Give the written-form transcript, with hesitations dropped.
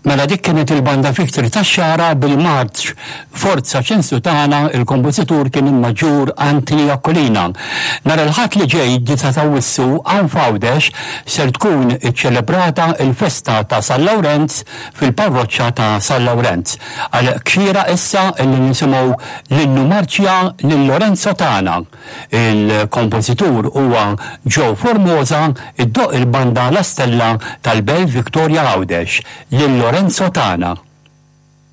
Mela dik kienet il-Banda Victory tax-Xagħra bil-marċ Forza Ċensu Tagħna, il-kompożitur kien il-Maġġur Anthony Aquilina. Nhar il-Ħadd li ġej, 9 t'Awwissu, hawn f'Għawdex ser tkun iċċelebrata l-festa ta' San Lawrenz fil-parroċċa ta' San Lawrenz. Għalhekk xieraq issa illi nisimgħu l-innu marċja lil Lorenzo tagħna. Il-kompożitur huwa Joe Formosa, iddoqq il-banda La Stella tal-Belt Victoria Għawdex. Lil Lorenzo tagħna.